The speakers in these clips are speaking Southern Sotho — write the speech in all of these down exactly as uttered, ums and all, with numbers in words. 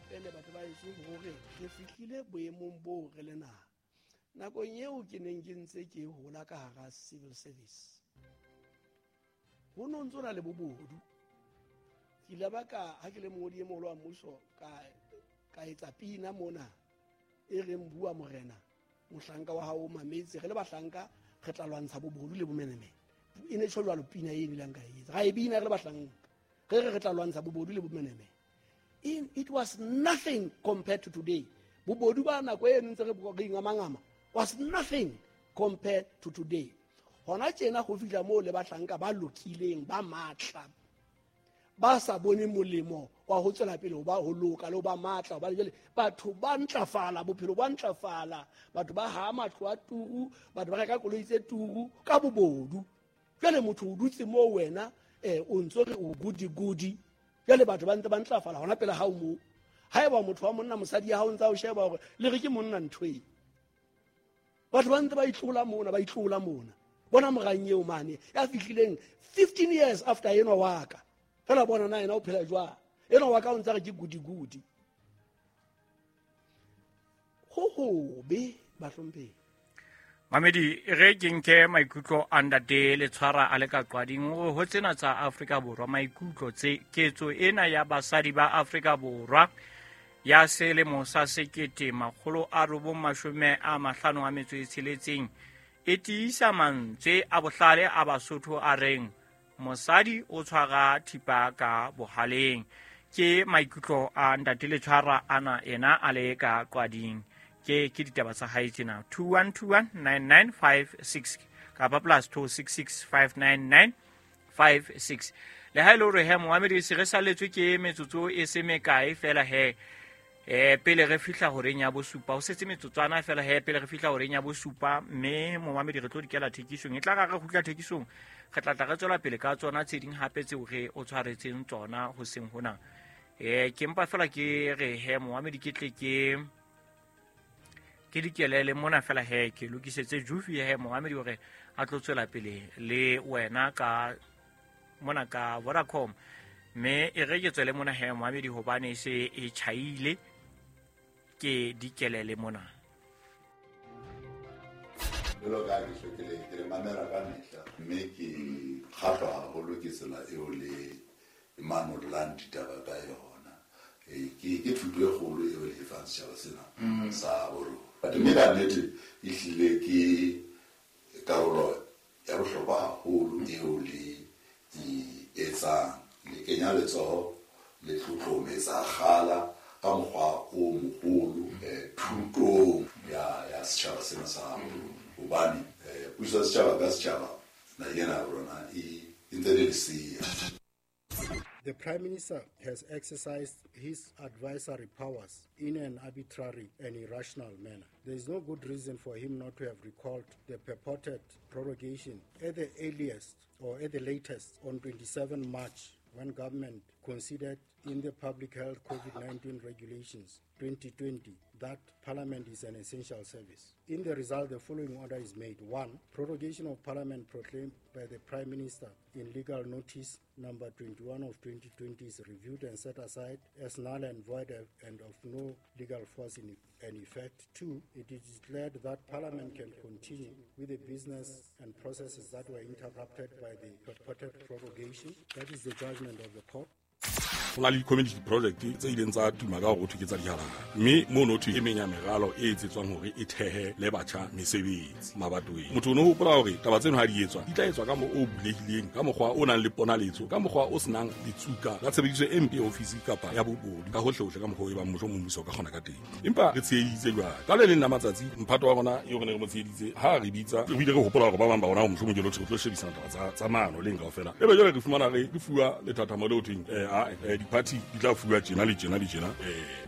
Rapele batho ba heso hore re fihlile boemong boo re le naha. Nakong eo ke neng ke ntse ke hola ka hara civil service, ho no ntso na le bobodu. Ke ile ba ka ha ke le mongodi e moholo wa mmuso ka ka etsa pina mona e reng bua morena mohlanka wa hao o mametse, re le bahlanka re tla lwantsha bobodu le bomenemene. E ne tjho jwalo pina e bileng ka e etsa, ra e bina re le bahlanka, re re re tla lwantsha bobodu le bomenemene. In, it was nothing compared to today. Bobodu ba nako e ntse re re ingamangama was nothing compared to today. Hona tjena ho fihla moo le bahlanka ba lokileng ba matla ba sa bone molemo wa ho tswela pele ho ba ho loka le ho ba matla, hobane jwale batho ba ntlafala, bophelo ba ntlafala, batho ba ha matlo a turu, batho ba reka koloi tse turu ka bobodu. Jwale motho o dutse moo wena eh o ntso re o gudi gudi, jwale batho ba ntse ba ntlafala hona pele ha o moo. Haeba motho wa monna mosadi ya hao ntsa o sheba hore le re ke monna ntho e, batho ba ntse ba itlola mona, ba itlola mona. Bona morang eo mane ya fihlileng fifteen years after enwa wa ka, fela bona na yena o phela jwang, enwa wa ka o ntse re ke gudi gudi. Ho hobe bahlomphehi. Mamedi, re ke nke maikutlo a ntate Letshwara a le ka qwading hore ho tsena tsa Afrika Borwa maikutlo tse ketso ena ya basadi ba Afrika Borwa ya selemo sa sekete makgolo a robong mashome a mahlano a metso e tsheletseng e tiisa mantswe a bohlale a Basotho a reng mosadi o tshwara thipa ka bohaleng. Ke maikutlo a ntate Letshwara ana ena a le ka qwading. Ke ke ditaba tsa hae tsena two one two one nine nine five six kapa plus two six six five nine nine five six. Le ha ile hore he moamedi se re saletswe ke metsotso e se mekae fela he eh pele re fihla horeng ya bosupa, ho setse metsotswana fela he pele re fihla horeng ya bosupa, mme moamedi re tlo dikela thekisong e tla ra re kgutla thekisong re tla tla re tswela pele ka tsona tse ding hape tseo re o tshwaretseng tsona hoseng hona. Eh ke mpa fela ke re he moamedi ke tle ke ke dikelele mona fela he ke lokisetse Jufi he moamedi hore a tlo tswela pele le wena ka mona ka Vodacom, mme e re ke tswele mona he moamedi hobane se e tjhaile ke dikelele mona. Jwalo ka ha ke hlwekile, ke le mamela ka mehla, mme ke kgahlwa haholo ke tsela eo le manollang ditaba ka yona. Ke ke thuto e kgolo eo le e fang setjhaba sena sa borona. Mme ka nnete ehlile ke karolo ya bohlokwa haholo eo le e etsang. Le kenya letsoho, le tlotlometsa kgala ka mokgwa o moholo thutong ya ya setjhaba sena sa borona. Hobane puso ya setjhaba ka setjhaba naheng ena ya rona e ntse le lesea. The Prime Minister has exercised his advisory powers in an arbitrary and irrational manner. There is no good reason for him not to have recalled the purported prorogation at the earliest or at the latest on twenty-seventh March, when government considered in the Public Health COVID nineteen Regulations twenty twenty that Parliament is an essential service. In the result, the following order is made. One, prorogation of Parliament proclaimed by the Prime Minister in legal notice number twenty-one of twenty twenty is reviewed and set aside as null and void and of no legal force in and effect. Two, it is declared that Parliament can continue with the business and processes that were interrupted by the purported prorogation. That is the judgment of the court. Ho na le di-community project tse ileng tsa tuma ka hore ho thwe ke tsa dihalahhala, mme mono thwe e meng ya meralo e etsetswang hore e thehe le batjha mesebetsi mabatoweng. Motho o no hopola hore taba tseno ha di etswa di tla etswa ka mo o bulehileng, ka mokgwa o nang le ponaletso, ka mokgwa o senang ditsuka la tshebediso e mpe ya ofisi kapa ya bobodu, ka hohle-hohle ka mokgwa o e bang mohlomong mmuso o ka kgona ka teng. Empa re tsheheditse jwale ka le leng la matsatsi mphato wa rona eo re ne re mo tsheheditse ha re bitsa, re bile re hopola hore ba bang ba rona mohlomong ke lo tlo shebisana taba tsa tsa maano leng kaofela, ebe jwale re fumana re re fuwa lethathamo leo thweng eh a di-party di tla fuwa tjena le tjena le tjena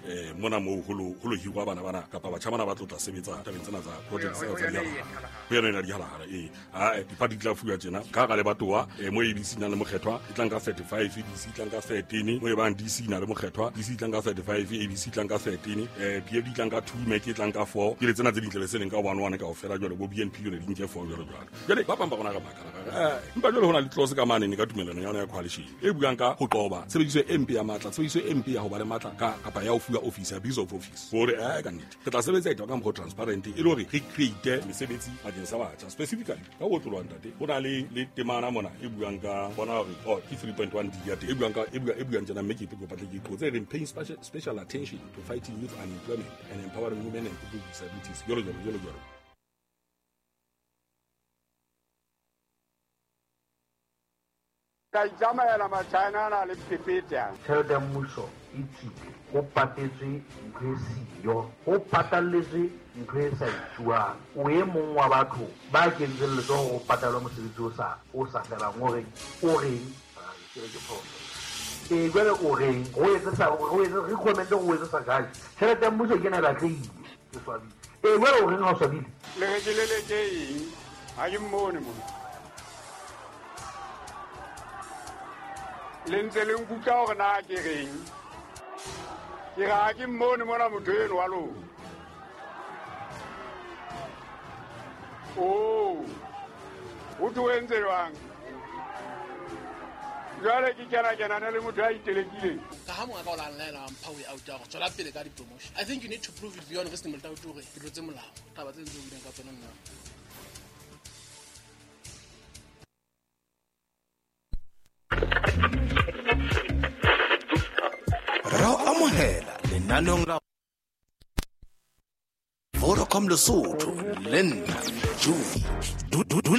eh mona moo ho lo ho lo hirwa bana bana kapa batjha bana ba tlo tla sebetsa tabeng tsena tsa project tsena tsa dihalahhala. Ho yona ena dihalahhala ee a di-party di tla fuwa tjena ka hara lebatowa mo A B C nang le mokgethwa e tlang ka thirty-five, D C e tlang ka thirteen, mo e bang D C na le mokgethwa, D C e tlang ka thirty-five, A B C e tlang ka thirteen, eh P F D e tlang ka two, M E C e tlang ka four, ke le tsena tse dintle le se leng ka one one kaofela jwale bo B N P yone di nke four jwalo jwalo. Jwale ba bang ba rona re makala eh empa jwale ho na le clause ka mane ka tumellano ya yona ya coalition e buang ka ho qoba tshebediso e mpe ya matla, tshebediso e mpe ya ho ba le matla ka kapa ya ho fuwa office, abuse of office. Hore eh ka nnete re tla sebetsa ditaba ka mokgwa o transparent e le hore re create mesebetsi bakeng sa batjha. Specifically ka ho otloloha ntate, ho na le le temana mona e buang ka bona hore oh ke three point one D ya teng e buang ka e buang e buang tjena, mme ke ke kopa tle ke qotse e reng paying special, special attention to fighting youth unemployment and empowering women and people with disabilities, jwalo jwalo jwalo jwalo. Ka itsamaela Machina ana le phephethe. Tjhelete ya mmuso e tswile, ho patetswe ntho e siyo, ho patalletswe ntho e sa etsuwang. O e mong wa batho ba kentseng letsoho ho patalwa mosebetsi o sa o sa felang, o reng o reng ke re ke phoso. Ee, jwale o reng o etse sa o etse recommend o etse sa kae? Tjhelete ya mmuso ke ena e batlehile, ke swabile. Ee, jwale o reng ha o swabile? Le re ke leleke eng? Ha ke mmone mona. Le ntse le nkutlwa hore na ke reng? Ke re ha ke mmone mona motho eno wa lona. Oh, o tlo entse jwang? Jwale ke kena kenana le motho a itelekileng. Ka ha monga ka o la nlaela wa mpha way out ya hore tswela pele ka di-promotion. I think you need to prove it beyond reasonable doubt hore ke tlotse molao. Taba tse ntse o buileng ka tsona nna. Ra o amohela lenaneong la Vodacom Lesotho le nna Juvie. Dula